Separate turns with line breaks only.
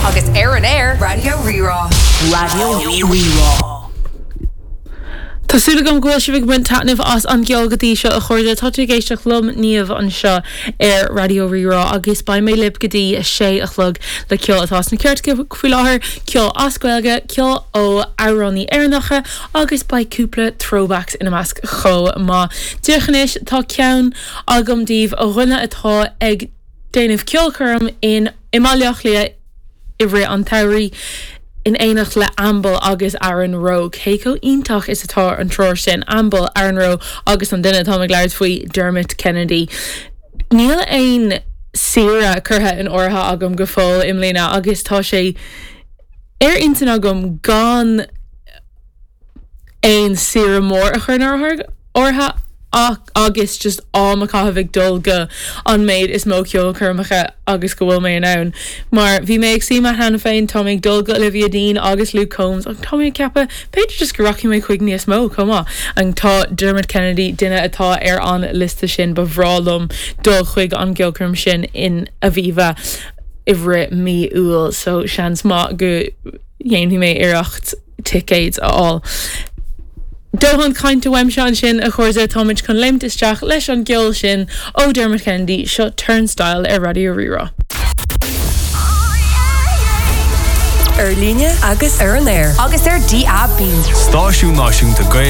Agus ar an aer, Raidió Rí-Rá.
Raidió Rí-Rá.
Tá súil agam go bhfuil sibh ag baint taitneamh as an gceol go dtí seo a chairde. Tá tú ag éisteacht liom, Niamh, anseo ar Raidió Rí-Rá agus beidh mé libh go dtí a sé a chlog le ceol atá sna cairteacha faoi láthair, ceol as Gaeilge, ceol ó amhránaí Éireannacha agus beidh cúpla throwbacks ina measc chomh maith. Díreach anois tá ceann agam daoibh ó dhuine atá ag déanamh ceolchoirm in i mBaile Átha Cliath i rith an tsamhraidh in éineacht le Amble agus Aaron Rowe. Cé chomh iontach is atá an triúr sin, Amble, Aaron Rowe agus an duine atáim ag labhairt faoi, Dermot Kennedy. Níl aon saoire curtha in áirithe agam go fóill i mbliana agus tá sé ar intinn agam gan aon saoire mór a chur in áirithe agus just am a chaitheamh ag dul go an méid is mó ceolchoirmeacha agus go bhfuil mé in ann. Mar bhí mé ag suí amach cheana féin, tá mé ag dul go Olivia Dean agus Luke Combs ach tá mé ag ceapadh b'fhéidir just go rachaidh mé chuig níos mó chomh maith. And tá Dermot Kennedy, duine atá ar an liosta sin, ba bhreá liom dul chuig an gceolchoirm sin in Aviva i rith mí Iúil so seans maith go dhéanfaidh mé iarracht ticéid a fháil. Dóthain cainte uaimse ansin, a chairde, táimid chun léimt isteach leis an gceol sin ó Dermot Kennedy, seo Turnstile ar Raidió Rí-Rá.
Ar líne agus ar an aer. Agus ar DAB.
Stáisiún Náisiúnta Gaeilge.